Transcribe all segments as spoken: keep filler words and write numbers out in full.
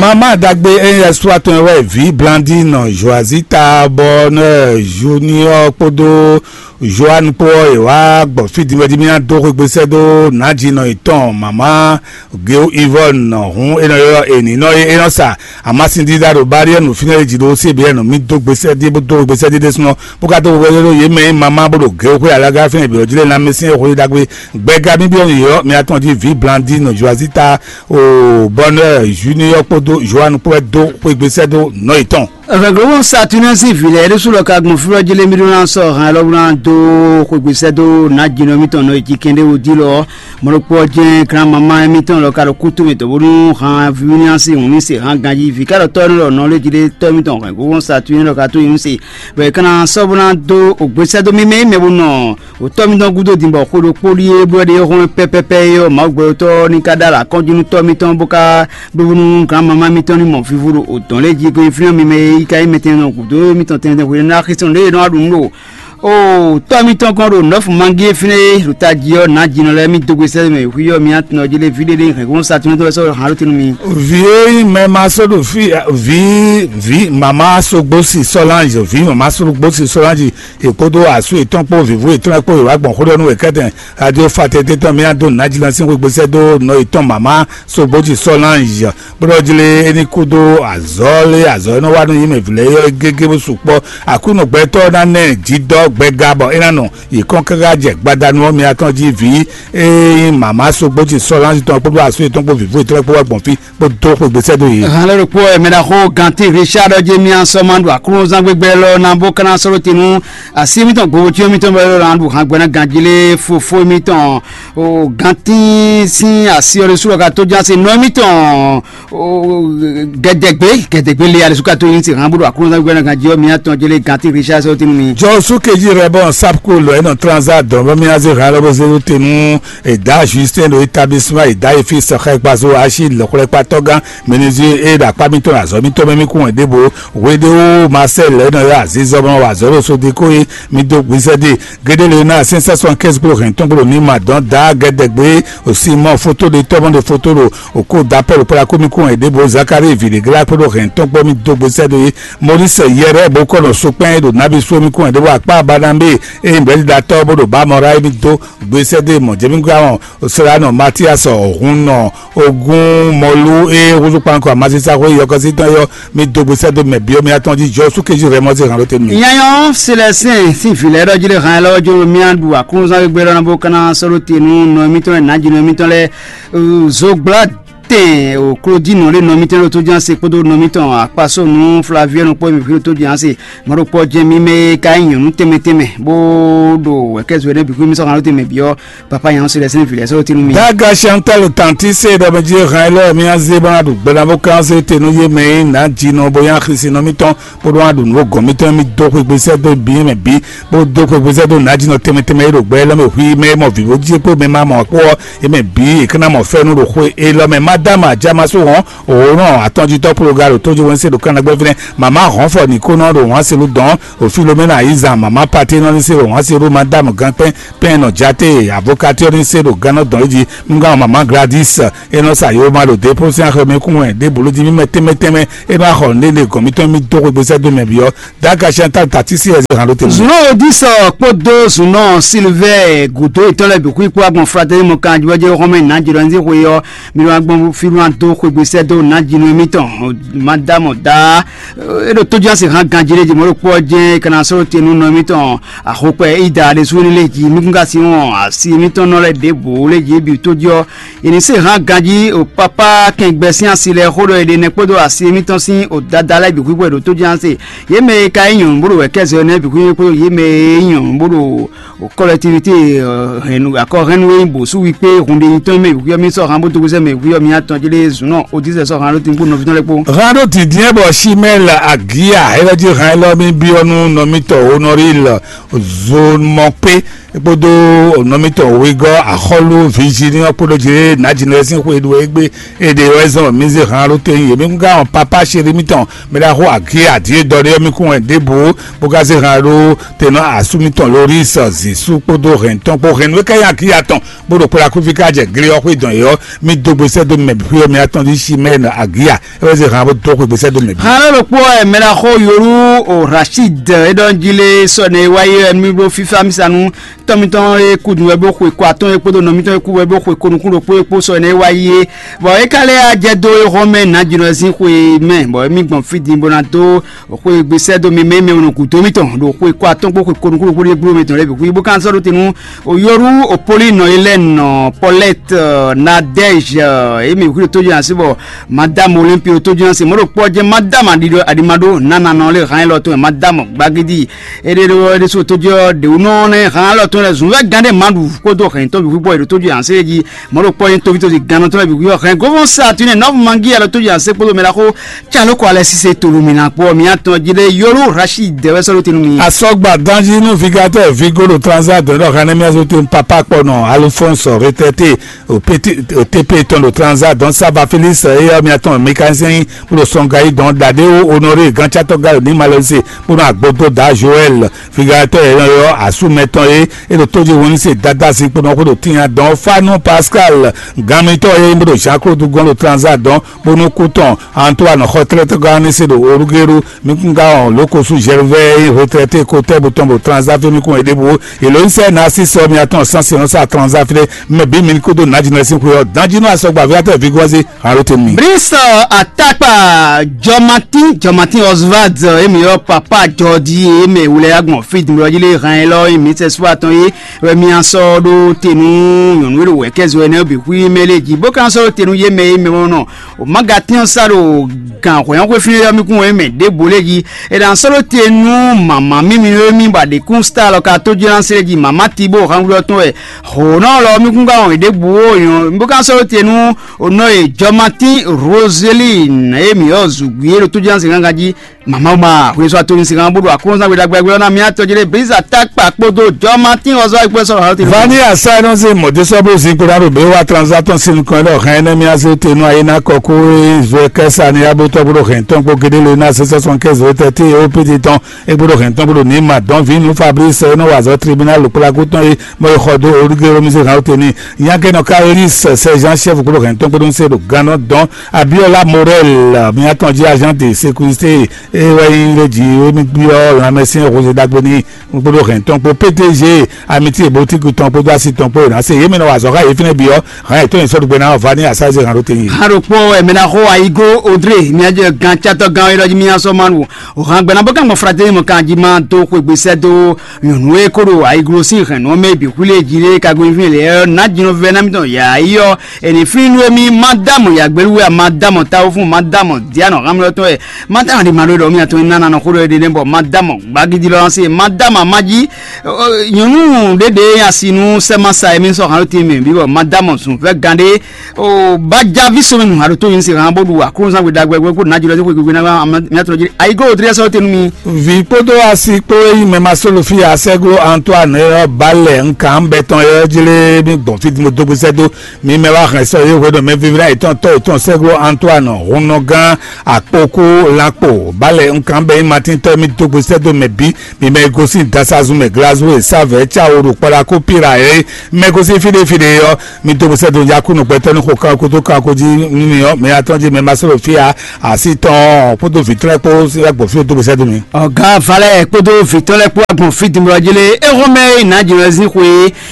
Mama ɖagbe ényí ɛsúatɔn wɛ vǐ Blandine, Joazita, Bonheur, Junior kpódó Joan kpó ɔ́, è wá gbɔ fí din wɛ jí mì ná dó xwé gbe sɛ́ dó nǎjínɔ yětɔn mama Geo Yvonne. Hǔn é nɔ ylɔ́ è nǐ nɔ é é nɔ sa amasin dídá ɖo Bariɛnu fínɛ́ jí ɖó C B N. Mì dó gbe sɛ́ dí bó dó xwé gbe sɛ́ dí ɖésúnɔ bó ka dó xwé gbe sɛ́ dó yě mɛ e mama bó ɖo Geo xwé alaga fínɛ́ bǐ ɔ́ jí lɛ́ɛ ná mɛ sín xwé ɖagbe. Gbɛga mì byɔ́ nǔ yɔ́ mì atɔn jí vǐ Blandine, Joazita, o Bonheur, Junior kpódó Joan kpó wɛ dó xwé gbe sɛ́ dó nɔ yětɔn. Rɛglɔ́wɔn Saturnɛ́ sín vǐ lɛ́ɛ ɖésú lɔ ka gbɔn fí ɔ́ jí lé mì ɖó ná sɔ́ han élɔ́ bó ná dó xwegbe sɛ́ dó nǎjínɔ mítɔn nɔ e cí kɛnɖé wodí lɔ ɔ́, mɔ̌ ɖokpó ɔ́ jɛ́n glán mamá émítɔn lɔ ka ɖo kútu mɛ dɔ̌ bónú han Viviniasi hǔn ní se han ganjí vǐ ká ɖɔ tɔ́ énɛ́ lɔ nɔ lé jí ɖé tɔ́ émítɔn hɛ̌ngbóhɔn Saturnɛ́ lɔ ka tó yi nú se, bɔ è ka ná sɔ́ bó ná dó ògbésɛ́ dó mímɛ́ yi mɛ bó nɔ wǒtɔ́ mítɔn gúdo din bɔ xwe ɖokpó ɖíe bó ɖe hɔn pɛ́pɛ́pɛ́ é ɔ́, Mawu gbɛtɔ́ ní ka ɖó alɔ akɔ́njú nú tɔ́ mítɔn bó ka ɖó nú gǎn mamá mítɔn ní mɔ vivo ɖo odɔ̌n lɛ́ɛ jí, ko nyí fínɛ́ mímɛ́ e yi ka nyí mɛtɛnnu gǔdo mítɔn tɛnmɛ hwenu ná xísɔ́n lě e nɔ wá ɖu nǔ ɖo o tɔ́ mítɔn gɔ́n ɖo nɔ́fu mangí e fínɛ́ e ɖo tají ɔ́, nǎ jinɔ lɛ́ɛ mì dó gbe sɛ́ mɛ hwí ɔ́, mi atnɔ jí lé vǐ ɖé ɖé hɛ̌ngbɔ́n sa tɔn tɔn wɛ sɔ́ han ɖó te nú mi. Vǐ e nyí mɛ ma só ɖo fí vǐ vǐ mama sogbosi Solange, vǐ mama sogbosi Solange, è kpódó asú yětɔn kpó vǐvú yětɔn lɛ́ɛ kpó è wǎ gbɔn xó ɖɔ nú wěkɛ́tɛn. Radio Fraternité tɔn mì ná dó nǎjínɔsín xwegbe sɛ́ dó nɔ yětɔn mama Sogboji Solange, bó ɖɔ jí lé é ní kú dó azɔ̌ lé azɔ̌ e nɔ wa nú yě mɛ vǐ lɛ́ɛ é gégé bó sukpɔ́. Aklúnɔ gbɛtɔ́ ná ná ɛ jǐdɔ́ gbɛga bɔ é ná nɔ yě kɔn káká jɛ gbadanu ɔ́ mì atɔn jí vǐ e nyí mama Sogboji Solange tɔn kpódó asú yětɔn kpó vǐvú yětɔn lɛ́ɛ kpó wá gbɔn fí bó dó xwegbe sɛ́ dó yě. Hɛn lɔ ɖokpó ɛ mɛ ɖaxó Ganti Richard ɔ́ jɛ mì asɔ ma ɖo Aklúnɔzán gbégbé lɔ ná bó kana sɔ́ ɖó te nú asi mítɔn gbowó tí mítɔn bɔ é lɔ ná ɖu hǎn gbɛ́ ná ganjí lé fofó mítɔn o Ganti sín asi ɔ́ ɖésú lɔ ka tó ján se nɔ mítɔn o gɛdɛgbé gɛdɛgbé lé alɛsú ka tó yín se hǎn bó ɖo Aklúnɔzán gbégbé ná ganjí ɔ́ mì atɔn jɛ lé Ganti Richard sɔ́ ɖó te nú mi. Jɔ súkèjì rẹ bɔ sapko lɔ ɛ nɔ transa dɔn bɔ mì azé hǎn lɔ bó zé ɖó te nú Eda Justin ɖo établissement Eda Efis xɛkpazo Achille xwlɛkpatɔ́gán Menuisier e ɖo akpá mítɔn ɖo azɔ̌ mítɔn mɛ mì kún wɛn ɖěvo. Hweɖéwú Marcel e nɔ ylɔ́ azizɔ bɔ wɔ azɔ̌ ɖo Sodeko e mì dó gbezɛ́ ɖe. Géɖé lě ná sɛ́n sɛ́ sɔn kɛ́nzí kpó hɛn tɔn kpó ɖo ní ma dɔn da gɛdɛgbé Simɔn foto ɖe tɔ́ mɔ ɖe foto ɖo òkó da Pɔ́lu kpó ɖo akó mì kún wɛn ɖěvo. Zakari vǐ ɖě glá kpó ɖo hɛn tɔn kpó mì dó gbezɛ́ ɖo é. Moris yɛrɛ bó kɔ nɔ sokpɛn ɖo nábi sú mì kún wɛn ɖěvo akpá Barnabé e nyí bɛ̌ɖiɖatɔ́ bó ɖo bá mɔ ɖá é mì dó gbesɛ́ ɖé mɔ jɛmígbámɔ Sranɔ Matias Ɔhun nɔ ogun mɔlu e húzú kpankɔ amazisa xwé yɔkɔsí tɔn yɔ mi dó gbesɛ́ dó mɛ biɔ mi atɔn jí jɔ súkéjú rɛ mɔ sí hàn ló tenu mi. Nyanyɔ Selɛsɛn sín vǐ lɛ́ɛ ɖɔ jí lé hàn ɛ lɔwọ́ jó mía ɖu aklúnúzán gbégbé lɔ ná bó ká ná sɔ́ ɖó te nú nɔ émítɔn lɛ́ɛ nǎjínɔ émítɔn lɛ́ɛ zogbla tɛn o klodínɔ lé nɔ émítɔn lɛ́ɛ tó ján se kpódó nɔ émítɔn akpasó nú Flaviɛnu kpó mì tó ján se mɔɖokpɔ jɛ mi mɛ ka nyí nyɔ̌nu tɛnmɛ tɛnmɛ bó ɖo wɛ̌kɛ́zú ɛnɛ bǐ xwé mi sɔ́ hàn ló tɛnmɛ bǐ ɔ́ papa nyɛ ɔ́ se lɛ sɛn vǐ lɛ sɔ́ tinu mi. Daga Chantal tanti se ɖɔ mɛ jí hàn lɔ mi azé bá ɖu gbɛɖa bó kan se tenu yé mɛ yi nǎ jinɔ bó yá xisi nɔ mitɔn bó ɖó wá ɖu nǔ gɔn mitɔn mi dó xwé gbèsè dó bí mɛ bí bó dó xwé gbèsè dó nǎ jinɔ tɛmɛ tɛmɛ yi ɖo gbɛ lɔ mɛ hui mɛ mɔ vǐ bó jí kpó mɛ ma mɔ kpó ɔ́ yé mɛ bí è ká ná mɔ fɛ́nú ɖo xwé é lɔ mɛ. Madame Adjamasu hɔn òórùn atɔnjitɔ ploga ɖo tójú wɛn se ɖo kánnagbɛ fínɛ mama hɔn fɔ ní kó nɔ ɖo hɔn se ló dɔn o Filomena Ayizan mama pati nɔ ní se ɖo hɔn se ɖo Madame Gankpɛn pɛn nɔ jate avokati ɔ́ ní se ɖo gannɔ dɔn é jí nugán mama Gladys e nɔ sa yoma ɖo dépose axɔmɛ kún wɛ ɖé bolo jí mímɛ tɛnmɛ tɛnmɛ e nɔ axɔ ne ɖe gɔn mitɔn mi dó xwegbe sɛ́ dó mɛ byɔ́. Daga Chantal tati sí ɛzɛ hàn ló te. Zunɔ odisɔ kpódó zunɔ silvɛ gudo etɔn lɛ bixu ikpó agbọn frateli mɔ kan jibɔjɛ xɔmɛ nà jidɔ ní xwe yɔ mi wá gbɔn fi wá dó xwegbe sɛ́ dó nà jinu mitɔn madamɔ da e ɖo tójú ase hàn ganji ɖe jimɔ ɖo kpɔ jɛ kana sɔrɔ tenu nɔ mitɔn axokpɛ ida ɖe su ní lɛ ji mi kún ka si wɔn asi mitɔn nɔ lɛ ɖěbǔ lɛ ji bi tójú ɔ Yě ní se hán ganjí o pápá kɛngbɛ sín asi lɛ́ɛ xó ɖɔ è ɖe nɛ́ kpódó asi émítɔn sín o dada lɛ́ɛ bǐ xwíxwɛ ɖo tójánse. Yě mɛ e ka nyí nyɔ̌nu bó ɖo wɛ̌kɛ́zɛ ɔ́ nɛ́ bǐ xwíxwɛ kpódó yě mɛ e nyí nyɔ̌nu bó ɖo kɔlɛtivité akɔhɛnnu e nyí bǒsúwi kpé hunɖenyitɔ́ mɛ bǐ xwíxwɛ mì sɔ́ hán bó dó gbézɛ mɛ bǐ xwíxwɛ mì atɔn jí lé zǔnɔ odísɛ sɔ́ hán ɖó tíngbó nɔví tɔn lɛ́ɛ kpó. Hán ɖó dǐndín bɔ Simɛ́ɛl Agiya élɔ́ jí hán élɔ́ mì byɔ́ nú nɔmítɔ́ Honoril Zomɔkpé kpódó nɔmítɔn wegɔ́ axɔ́lú Virginie kpódó Jire Nǎjínɛ́ sín xwe ɖu égbé. Èdè wɛ zɔn mí zé han ɖó tɛ́nyin yě mí gán ɔn papá chéri mítɔn mɛ ɖaxó agí adíe dɔ ɖé ɔ́ mí kún wɛ ɖěbǔ bó ka zé han ɖó tɛnɔ asú mítɔn Loris Zisu kpódó hɛn tɔn kpó hɛn nú é ká nyi agí atɔn bó ɖo kplá kúfí ká jɛ glé ɔ́ xwé dɔn yě ɔ́, mí dó gbe sɛ́ dó mɛ xwé ɔ́ mí atɔn ɖí sí mɛ agí a é wɛ zé han bó dó xwe gbe sɛ́ dó mɛ bǐ. Hàn ló ɖokpó ɛ mɛ ɖaxó Yorú o Rashid é ɖɔ jí lé sɔ nɛ wáyé ɛ nú mí bló fífá mí sa nú tɔn mítɔn e kú dun wɛ bó xwe kɔ atɔn e kpódó nɔ mítɔn e kú wɛ bó xwe ko nukún ɖokpó e kpó sɔ nɛ wáyé é. Bɔ é ka lɛ́ jɛ dó é hɔn mɛ nǎ jǐnɔ sín xwe mɛ bɔ émí gbɔn fí din bó ná dó xwe gbe sɛ́ dó mi mɛ mɛ nɔ gǔdo mítɔn ɖo xwe kɔ atɔn kpó xwe ko nukún ɖokpó ɖé gblo mɛ tɔn lɛ́ɛ bǐ xwí bó ka sɔ́ ɖó te nú Oyoru, Opoli, Nɔyilɛn, Pɔlɛt, Nadɛj, emi xwí ɖo tójú asi bɔ Madame Olympe ɖo tójú asi mɔ̌ ɖo kpɔ́ jɛ́n Madame Adimaɖo Nananɔ lé hán élɔ́ tɔn Madame Gbagidi. Éɖé ɖó ɖésú tójú ɔ́ ɖě wú nɔ nɛ hán élɔ́ tɔn lɛ zunvɛ́ gán ɖé ma ɖu kpódó hɛn tɔn bǐ xwí bɔ è ɖo tójú asi jí mɔ̌ ɖo kpɔ́ nyí tóví tó si gannɔ tɔn lɛ bǐ xwí ɔ́ hɛn gɔ́vɔn sa tún nɛ nɔ́ mangi alɔ tójú asi kpódó mɛ ɖaxó Tsa ló kɔ alɛ sísè tolo mǐ ná kpɔ́ mǐ atɔn jí ɖe yolo Rashid dɛwɛ sɔ́ ɖó te nú mi. Asɔgba ganjí nú vigatɔ vigo ɖo transa dɔn ɖɔ xanɛ mía zó te papa kpɔ nɔ Alphonse retraité o T P tɔn ɖo transa dɔn Saba Félix eyɔ mía tɔn mécanicien bó ɖo sɔnga yi dɔn Dadeo Honoré gantsatɔ ga ní Malɛse bó nɔ agbógbó da Joël vigatɔ yɛ yɔ asú mɛtɔn ye e ɖo tóji wɔn se dada si kpɔnɔ xó ɖo tinya dɔn Fanu Pascal ganmitɔ ye bó ɖo Jean Claude gɔn ɖo transa dɔn bónú kú tɔn Antoine xɔtlɛ́tɔ́gán ní se ɖo Orugéru mí kún gá ɔn lókosú Gervais retraité kotɛ́ bó tɔn bó transafe mí kún é ɖěbǔ èló ní sɛ́ ná sí sɔ mía tɔn sánsì ɔn sá transafe mɛ bí mi ní kúdó nǎjínɔ sín xwe ɔ́ dánjínú asɔgba aviatɔ vigɔzi alo tɛ mi. Brice Atakpa Jɔmatin Jɔmatin Oswald emi yɔ papa jɔdi emi wulɛ agbɔn fi dun yɔ yile hàn yɛ lɔ emi sɛ sua tɔn ye wɛ mi asɔ ɖo tenu nyɔnu ɖo wɛ kɛzɔ ɛnɛ bi hui mɛ lɛ ji bó kan sɔ ɖo tenu ye mɛ ye mɛ mɔ nɔ o ma ga tɛn sa ɖo gan hwɛn xwe fi yɔ mi kun wɛ mɛ ɖe bo lɛ ji e dan sɔ ɖo tenu mama mi mi mi ba de kun sta lɔ ka to jɛ se ji mama ti bo han wulɔ tɔn wɛ ho nɔ lɔ mi kun ga wɔn ɖe bu wo nyɔ bó kan sɔ ɖo tenu o nɔ ye Jɔmatin Roseline ye mi yɔ zugui ɖo to jɛ se gangan ji Mama ma hwesɔ ato ní sika bó ɖo aklúnzán gbe ɖagbe ɔ́ ná mía tɔjí ɖé Briza Takpa kpódó Jɔmatín ɔzɔ́ ayikpɛ́ sɔ́ hǎn tɛ́nɛ́. Vani asá nɔ se mɔdé sɔ́ bó zinkpo ná ɖo bě wá transaction sin nukɔn ɖɔ hɛn énɛ́ mía zé te nú ayé ná kɔ kó zɔ kɛ́ sa ní abótɔ́ bó ɖo hɛn tɔn kpó gédé lé ná sɛ́ sɛ́ sɔn kɛ́ zɔ tɛ té ó pété tɔn é gbóɖó hɛn tɔn gbóɖó ní ma dɔn vǐ nú Fabrice é nɔ wa azɔ́ tribunal kplákú tɔn é mɔ é xɔ dó olúgé rómísé hǎn ó te ní nyákɛ́nɔ Kaolis sɛ Jean chef gbóɖó hɛn tɔn gbóɖó ń se ɖo gannɔ dɔn Abiola Morel mía tɔn jí agent de sécurité é wɛ nyí lé jí émí byɔ́ lanmɛsyɛn José Dagbe ní kpódó hɛn tɔn kpó P D G amitié boutique tɔn kpódó asi tɔn kpó yě ná se yě mɛ nɔ wa azɔ̌ xá yě fínɛ́ byɔ́ hɛn yě tɔn yě sɔ́ ɖugbe ná vani asáze hàn ɖó tɛ́nyi. Hã ɖokpó ɛmɛ ná xo ayigo odre mía jɛ gan catɔ gan ɔyɔ jí mía sɔ manu o hàn gbɛná bó kàn gbɔn frateli mɔ kan jí má dó xwegbe sɛ dó nyɔnu e kó ɖo ayiglo sín hɛn nɔ mɛ bǐ xwlé jí lé kagbé fín lɛ ná jinɔ vɛ ná mitɔn yà yɔ Eni fínú émí má dá mɔ yǎgbélú wɛ, má dá mɔ táwúfún, má dá mɔ diánɔ xámlɔ́tɔn wɛ, má dá mɔ ɖimaɖó ɖɔ mí atɔn nánà nɔ xó ɖɔ ɖe bɔ má dá mɔ gbagidi lɔ se, má dá mɔ amájí. Nyɔnu ɖéɖé asi nú sɛ́mása émí sɔ hàn ló tín mɛ bí bɔ má dá mɔ zun fɛ gán ɖé. Bá já ví sɔmɛ nù haɖo tó yín se hàn bó ɖu aklúnzán gbe ɖagbe gbé kó nàjọ lɔ sí xwé gbégbé ná mí atɔn jí. Ayigó wò tlẹ́ sɔ́ tɛnu mi. Vǐ kpódó asi kpó e nyí mɛ ma sólo fí asɛ́glo Antoine ɔ́ ba lɛ un kan bɛ tɔn ɔ́ jlé mí gbɔn fí din bó dó gbésɛ dó. Mi mɛ wá hɛn sɔ yé hwenu mɛ vivi ná yětɔn tɔ́ yětɔn sɛ́glo Antoine hunnɔgán akpokú lankpo balẹ̀ nkan bɛ nyí Matín tɔ́ mi dó gbe sɛ́ dó mɛ bǐ. Mi mɛ e gosín dasazun mɛ glazú e sávɛ̌ cá wo ɖo kpɔɖa kó pira é mɛ gosín fíɖéfíɖé ɔ́, mi dó gbe sɛ́ dó nyi akúnnu gbɛtɔ́ ní xo kanko tó kanko jí nú mi ɔ́, mi atɔ́ jí mɛ ma sɔ́ ɖo fí ǎ. Así tɔn kpódó vǐ tɔn lɛ́ɛ kpó gbɔn fí dó gbe sɛ́ dó mi. Ọ̀gá Valẹ̀ kpódó vǐ tɔn lɛ́ɛ kpó agbọ̀n fí dìmlɔ jí lé, é hɔn mɛ é nǎ jǐnɔ sín xwe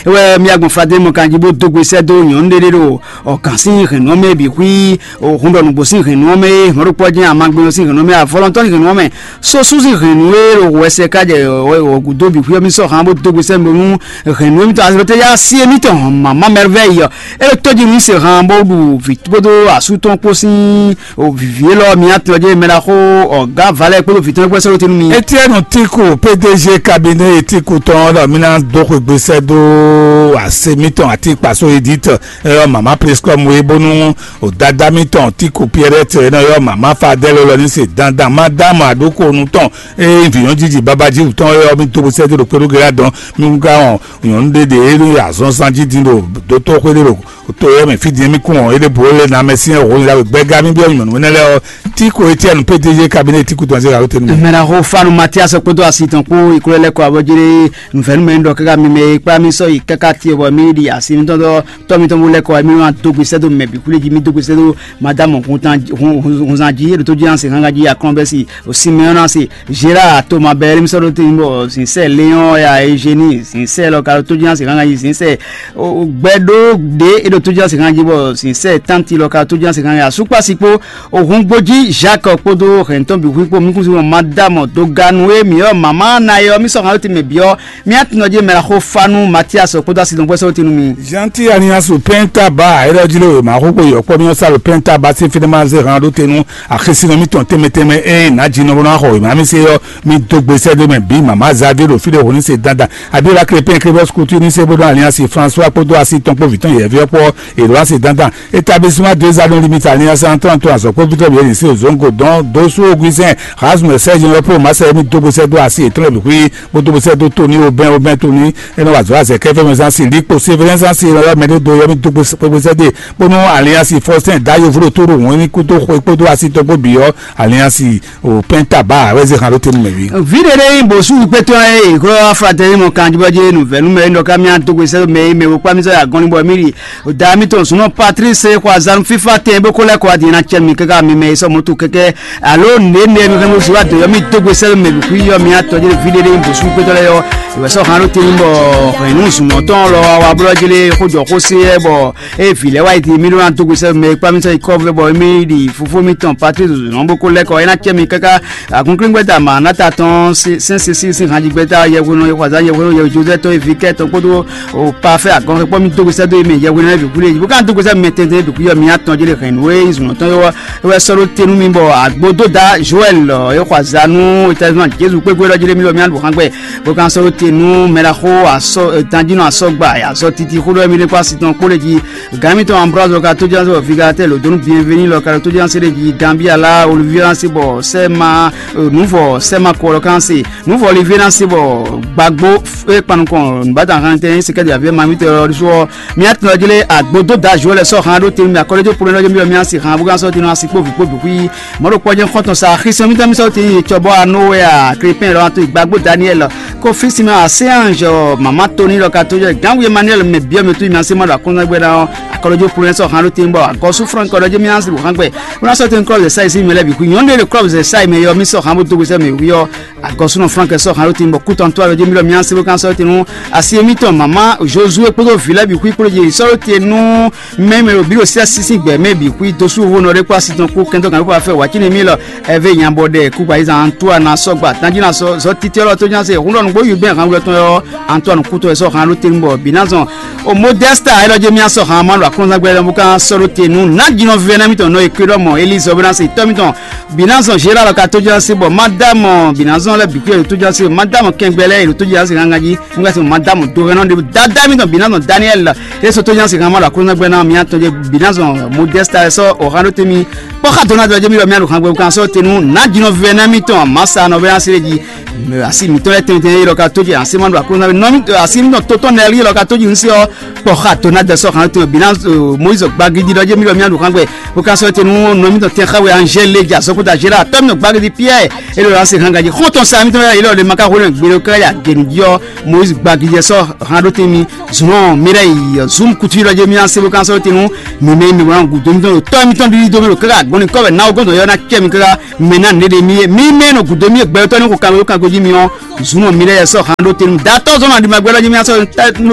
é wɛ mi agbɔn Fadé mɔ kanjí bó dó gbe sɛ́ dó nyɔ̌nu ɖé ɖé ɖo Ɔ, gǎn sín hɛ̌n nú mɛ bǐ xwí, hun ɖɔ nǔgbó sín hɛ̌n nú mɛ, mɔ̌ɖokpɔ́ jɛ́n amagbɛ́nɔ sín hɛ̌n nú mɛ, avɔlɔntɔ́ sín hɛ̌n nú mɛ, sosú sín hɛ̌n nú e ɖo wɛsɛ ká jɛ ɔgǔdó bǐ xwí ɔ́ mì sɔ́ hǎn bó dó gbe sɛ́ mi ɖo nú hɛ̌n nú émítɔn azɔ̌tɛ́ yá sí émítɔn mama mɛrvɛ́ yi ɔ́, é ɖo tójí nú se hǎn bó ɖu vǐ kpódó asú tɔn kpó sín vǐví élɔ́ mi atɔn jɛ mɛ ɖaxó ɔgǎ Valɛ kpódó vǐ tɔn kpó sɛ́ ɖó te nú mi. Etienne Tiku P D G cabinet Tiku tɔn ɖɔ mi ná dó xwegbe sɛ́ dó ase mítɔn àti kpasó edit, ɛ, mama prescom we bónú, o dada mítɔn Tiku Pierrette, ɛ, nɔ yɔ mama Fadel lɔ ní se dandan, madame aɖókonu tɔn, ɛ, vǐnyɔ́n jíjì babají wǔtɔn, ɛ, mi dó sɛ́ dó ɖo kpéɖó gérá dɔn, mi ka wɔn nyɔ̌nu ɖé ɖe é ɖo azɔnzan jí din ɖo dótó xwé ɖé ɖo to yɛ mɛ fí din mi kún ɔ́, é ɖé bǔ lé na mɛ sín ɛhó nyí ɖagbe gbɛ́gá mi byɔ́ nyɔ̌nu énɛ́ lɛ́ɛ ɔ́, Tiku Etienne P D G cabinet Tiku tɔn zé gǎ ló tenu mɛ. Mɛɖaxó Fanu Matias kpódó asi tɔn kpó yi kúlɛ́ lɛ́ kɔ abɔjéré nǔvɛ́númɛ ɖɔ káká mi mɛ e kplá mì sɔ́ yi káká tiɛ bɔ mì ɖi asi mitɔn dɔ tɔ́ mitɔn bó lɛ́ kɔ wɛ mì wá dó gbe sɛ́ dó mɛ bǐ xwlé jí mì dó gbe sɛ́ dó madame hunzan jí ɖo tó jí ansi hángan jí akɔn bɛ́ si o Simeɔn ansi Gérard Thomas bɛ́ mi sɔ́ ɖó tɛ́ntin bɔ sinsɛ Léon ya Eugénie sinsɛ lɔ ka ɖo tó jí ansi hángan jí sinsɛ gbɛɖó ɖě é ɖo tó jí ansi hángan jí bɔ sinsɛ tánti lɔ ka ɖo tó jí ansi hángan jí asúkpasi kpó Òhungbójí Jacques kpódó hɛ̌ntɔn bǐ hu kpó mukúnsin mɔ madame doganu e mǐ ɔ́ mama na e ɔ́ mí sɔ́ hǎn tɛnmɛ bǐ ɔ́ mía tɔnɔ jí mɛ xó fanu Matias kpódó asi dɔn gbɛsɛ tinu mi. Jean-Ti Alliance Penta ba ayɛlɛ jí lé wěma xó kpó yɔkpɔ mí ɔ́ sa lo Penta ba sí fínɛ́ ma zé hǎn ɖó tenu axésínɔ mítɔn tɛnmɛ tɛnmɛ ée nǎ jí nɔ bó ná xɔ wěma mí sé ɔ́ mí dó gbe sɛ́ ɖé mɛ bǐ mama Xavier ɖo fí ɖé hǒ ní se dandan Abiola Crépin Crébos Couture ní sé bó ɖó Alliance François kpódó asi tɔn kpó vǐ tɔn yɛ̌ví ɔ́ kpó Edouard Sedantan, établissement des anneaux limite Alliance en trente-trois azɔ̌kpɔ́vítɔ́ bǐ e nyǐ sí òzóńgò dɔn dó sú Augustin Rasmus Serge Nɔ́pló Masɛ émí dó gbe sɛ́ dó asi yětɔn lɛ́ɛ bǐ xwí bó dó gbe sɛ́ dó Tony Aubin Aubin Tony é nɔ wa azɔ̌ azɛ kɛ́ fɛ́ mɛ zán sin Likpo Sévérin zán sin é nɔ wá mɛ ɖé dó yɔ́ mì dó gbe sɛ́ dó bónú Alliance Faustin Dayo vló tó ɖo wɔn ní kúdó xwe kpódó asi tɔn kpó bǐ ɔ́ Alliance o pɛ́n taba wɛ zé han ɖó te nú mɛ ví. Vǐɖe ɖé nyí bǒsú kpétɔ́ e glɔ́ aflatɛ́ nyí mɔ kanjibɔ́ jí nǔvɛ́nú mɛ é nɔ ká mì adó gbe sɛ́ mɛ é mɛ wokpá mì sɔ́ yi agɔn ní bɔ mì ɖi. Dǎ mitɔn zunɔ Patrice xɔ azanu fífá tɛn bó ko lɛ́ kɔ wá din ná cɛ mi káká mi mɛ e sɔ́ mɔ̌ to kɛ́kɛ́ alo nǔɖé nɛ mi hɛn bó si wá dǒ yɔ mì dó gbe sɛ́ mɛ bǐ xwí yɔ mi atɔ jé ví ɖé ɖé bǔsú kpétɔ́ lɛ́ɛ yɔ. Ìwɛ sɔ́ hán ɖó tɛ́ntin bɔ hɛ̌nnu zunɔ tɔn lɔ wá blɔ́ jlé xójɔ xó sé yɛ bɔ ée vǐ lɛ́ɛ wá yi din mì ɖó ná dó gbe sɛ́ mɛ e kpá mì sɔ́ yi kɔ́ vɛ bɔ mì ɖi fofó mitɔn Patrice zunɔ bó ko lɛ́ kɔ é ná cɛ mi káká. Agunklíngwɛ́ta Manata tɔn sɛn sisi sín hanjigbɛ́ta yɛhwenu yɛhwazán yɛhwenu yɛhwejozɛ́ tɔn e vi kɛ tɔn kpódó o pafɛ agɔnkɛkpɔ mi dó gbèsè dó mi yɛhwenu yɛ bǐ kúlé yìí bó ká dó gbèsè mɛ tɛntɛn bǐ kúyɔ mi atɔn jeli hɛn nú e zunɔ tɔn yɔ wɛ sɔ́ ɖó tenu mi bɔ agbo dó da Joël yɔxwazanu établissements Jésus kpégbé lɔ jeli mi lɔ mi alɔ hàn gbɛ bó ká sɔ́ ɖó tenu mɛɖaxó asɔ tanjínɔ asɔgba azɔ titi xó ɖɔ mi ɖe kpó asi tɔn kpó lé jí Gǎn mitɔn Ambroise lɔ ka tójánse bɔ Vigalatɛ́ lǒ dó nú Bienvenu lɔ ka ɖo tójánse ɖé jí Gambia lá Olivier Anse bɔ Sɛma Nuvɔ Sɛma kɔ lɔ kan se Nuvɔ Olivier Anse bɔ gbàgbó e kpan nukɔn nǔbátà han tɛn sekɛ́ de aviɛ ma mitɔn lɔ ɖésú ɔ́ mía tɔn lɔ jlé agbo dó da Joël sɔ han ɖó tenu mɛ akɔlɛ́jɔ polɛ lɔ jɛ mi lɔ mía se han bó kan sɔ tenu asi kpó vǐ kpó bǐ xwí mɔ̌ ɖo kpɔ́ jɛ́n xɔ́ntɔn sa xisɔn mitɔn mi sɔ tenu yi cɔbɔ anó wɛ a Krépin lɔ to gbàgbó Daniel Kofi Simeon Aséange mama Tony lɔ ka tójánse Gánwu Emmanuel mɛ biɔ mi tó mi ase ma ɖo akɔnzan gbɛ ná ɔ́ akɔlɔjɔ polɛ sɔ han ɖó tɛn bɔ agɔsu Frank ɔdɔ jɛ mi ansi bɔ han gbɛ wọn sɔ tɛn klɔb zɛ sa yi si mɛ lɛ bi hu nyɔnu ɖe klɔb zɛ sa yi mɛ yɔ mi sɔ han bó dó gbèsè mɛ hu yɔ agɔsu nɔ Frank sɔ han ɖó tɛn bɔ kutɔn tó alɔ jɛ mi lɔ mi ansi bó kan sɔ tɛn nu asi mi tɔn mama Josué kpódó vi lɛ bi hu kpódó jɛ sɔ ɖó tɛn nu mɛ mɛ ɖo bi ɖo sia sisi gbɛ mɛ bi hu dosu vo nɔ ɖe kpó asi tɔn kpó kɛntɔ kan kpó afɛ wacine mi lɔ Ɛvɛ nya bɔ ɖɛ kúkpa yi zan Antoine asɔgba tanjínà sɔ zɔ titi ɔlɔ tó nyase hun ɖɔ nugbo yu bɛn han wulɔ tɔn yɔ Antoine kútɔ sɔ han ló tenu bɔ binazɔn o modesta ɛlɔ jɛ mi asɔ han ma ɖo akɔnzan gbɛ lɔ bu kan sɔ ɖo tenu na jinɔ vɛ na mi tɔn nɔ ekpe ɖɔ mɔ Elizɔ bɛ na se tɔ mi tɔn binazɔn Gérard lɔ ka tó jɛ se bɔ madame binazɔn lɛ bikú yɛ tó jɛ se madame kɛngbɛ lɛ yɛ tó jɛ se han ganji nga se madame do hɛn nɔ de dada mi tɔn binazɔn Daniel eso tó jɛ se han ma ɖo akɔnzan gbɛ na mi atɔn jɛ binazɔn modesta sɔ o han ɖo temi kpɔ́ xá dɔn ná dɔn jɛ mi lɔ mi aɖo hàn gbɛ kan sɔ tenu ná jinɔ vɛ ná mi tɔn masa nɔ vɛ asi lɛ ji asi mi tɔn lɛ tɛntɛn yi lɔ ka tó jɛ asi ma ɖo akɔnɔ nɔ mi asi mi tɔn tó tɔn nɛ yi lɔ ka tó ji nsi ɔ kpɔ́ xá dɔn ná dɛ sɔ hàn tɔn bi ná Moise gbagidi lɔ jɛ mi lɔ mi aɖo hàn gbɛ o kan sɔ tenu nɔ mi tɔn tɛn xa wɛ Angèle lɛ jɛ asɔkota Gérard tɔ mi tɔn gbagidi Pierre e lɔ asi hàn gaji xɔ tɔn sa mi tɔn yi lɔ de ma ka xɔ ne gbe lɔ ka ya genu ji ɔ Moise gbagidi sɔ hàn ɖo tɛn mi zunɔ mi lɛ yi zum kutu lɔ jɛ mi asi o kan sɔ tenu mi mɛ mi wlan gudo mi tɔn tɔ mi tɔn ɖiɖi do mi ɖo kaka gbɔn ni kɔvɛ na o gɔntɔ yɔ na kɛ mi kaka mɛ na ne ɖe mi ye mi mɛ nɔ gudo mi ye gbɛtɔ ni ko kan o kan goji mi ɔ zunɔ mi lɛ yɛ sɔ han ɖo tenu datɔ zɔn na ɖi ma gbɛ lɔ jɛ mi asɔ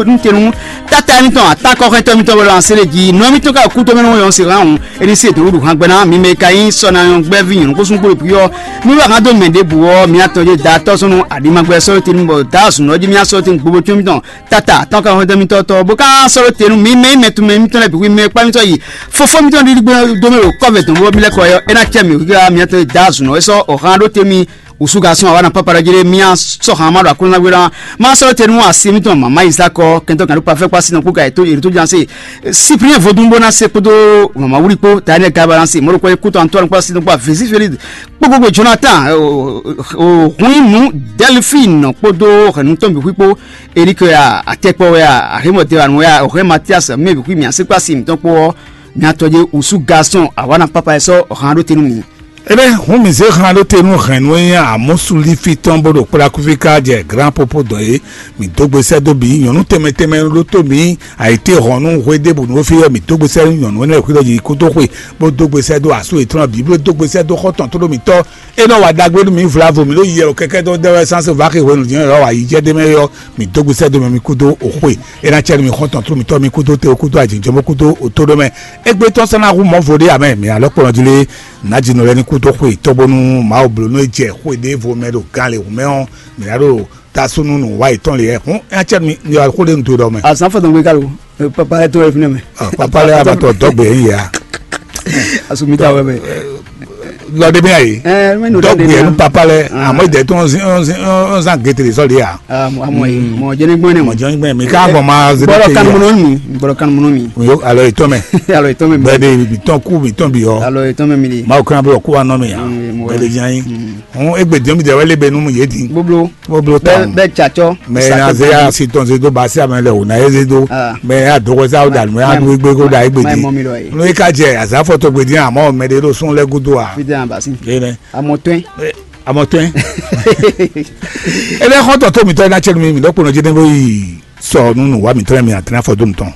ntenu tata mi tɔn atakɔ xɛ tɔ mi tɔn wɛlɛ ase le ji nɔ mi tɔn ka ku tɔ mi nɔ yɔ se han o eni se dɔn ɖu han gbɛ na mi mɛ ka yi sɔ na yɔ gbɛ vi nyɔnu ko sun kpo ɖe pi ɔ mi wa han do mɛ ɖe bu ɔ mi atɔ je datɔ zɔn na ɖi ma gbɛ sɔ tenu bɔ da zunɔ ji mi asɔ tenu gbogbo tɔ mi tɔn tata tɔn ka hɔn dɛmi tɔtɔ bó ká sɔrɔ tenu mi mɛ mɛ tumɛ mi tɔn lɛ bi wi mɛ kpa mi tɔ yi fofo mi tɔn ɖiɖi gbɛ dome o kɔvɛ dɔn bó mi lɛ kɔ yɔ ena cɛ mi wi ká mi tɔ da zunɔ esɔ ɔhan ɖo te mi Usu garçon awa na papa ɖɔ jlé mía sɔxa ma ɖo aklúnɔgbé ná. Ma sɔ́ te nú asi mitɔn mama Isaac kɛntɔ kan ɖo pafɛ kpa sinɔ kpó ka ètò yètò jan se. Cyprien vodun bó ná se kpódó mama wuli kpó ta ne ka balance mɔɖo kpɔ kútɔ Antoine kpó sinɔ kpó Vézi Félix kpókpókpó Jonathan, hun nu Delphine kpódó hɛnú tɔn bǐ kpó Eric Atɛkpɔ wɛ a Ahimɔ Dewan wɛ a Ohɛn Mathias mɛ bǐ kpó mia se kpó asi mitɔn kpó ɔ́. Mia tɔjé usu garçon awa na papa sɔ́ hàn ɖó te nú mi. Ebe hun mi zé han ɖó te nú hɛ̌nnu e nyí amɔ̌súlífí tɔn bó ɖo kplá kúfí ká jɛ glán pópó dɔn é. Mi dó gbe sɛ́ dó bǐ nyɔ̌nu tɛnmɛ tɛnmɛ ɖó tó mǐ ayǐtéhɔ̌nnu hwe ɖěbǔ nú fí wɛ mi dó gbe sɛ́ nú nyɔ̌nu énɛ́ xwí ɖɔ yi kúdó xwe, bó dó gbe sɛ́ dó asú yětɔn bǐ bó dó gbe sɛ́ dó xɔ́ntɔn tlóló mǐtɔn. É nɔ wa ɖagbe nú mǐ vlavo mǐ ɖo yiyɛ o kɛkɛ́ dó dɛ́ wɛ sánsɛ va xixwenu jǐnɔ yɔ̌ wa yi jɛ ɖ'é mɛ é ɔ́, mǐ dó gbe sɛ́ dó mɛ mì kúdó oxwe. É ná cɛ nú mì xɔ́ntɔn tlóló mǐtɔn mì kúdó te kúdó ajǐjɔ́mɔ kúdó otóɖó mɛ. Égbé tɔn sɛ́ ná hu mɔ̌ vo ɖé amɛ mǐ alɔ́ kplɔ́n jí lé. Nǎjínɔ lɛ́ɛ ní kú dó xwe tɔ́ bónú Mawu bló nú é jɛ xó e ɖěvo mɛ ɖo gan lěhu mɛ ɔ́, mǐ ná ɖo tasúnú nǔ wa yětɔn lě wɛ. Hǔn é ná cɛ nú mi xó ɖé nu do ɖɔ mɛ. Azǎn fɔtɔn gbé ká lo, papa lɛ́ɛ tó wɛ fínɛ́ mɛ. Papa lɛ́ɛ wá ma tɔ dɔ̌gbe yě ya. Asumita wɛ mɛ. Lɔ ɖé mɛ yě. Dɔ̌gbe yě nu papa lɛ́ɛ, àmọ́ ìdẹ́ tó ń zán gete lè sɔ́ lě ya. Àmọ́ yìí mọ̀ jẹ́ ní gbọ́n ní mọ̀. Mọ̀jọ́ ní gbọ́n mi ká bọ̀ máa zé gbọ́dọ̀ kanu mọ́nà mi. Gbọ́dọ̀ kanu mọ́nà mi. Alɔ ìtọ́ mɛ. Alɔ ìtọ́ mɛ. Bẹ́ẹ̀ de ibi tɔn kú ibi tɔn bi yɔ. Alɔ ìtọ́ mɛ mi de. Máa kó náà bọ̀ kó wa nɔ mi ya. Bẹ́ẹ̀ de jẹ́ yín. Hɔn egbe diɛ mi dɛ wɛ lebe nu mu yé di. Gbogbo. Gbogbo ta. Bɛ catsɔ. Mɛ na ze ya si tɔn ze do ba si amɛ lɛ o na ye ze do. Mɛ ya dɔgɔ sa o da mɛ ya do egbe ko da egbe di. N'o ye ka jɛ aza fɔ tɔgbe di amɔ mɛ de do sun lɛ gudo a. Fi de an basi. Ye nɛ. Amɔ tɔn. Amɔ tɔn. Ele xɔ tɔ to mi tɔ na cɛ mi mi dɔ kpɔnɔ jɛ ne bo yi sɔ nunu wa mi tɔ mi atena fɔ do mi tɔn.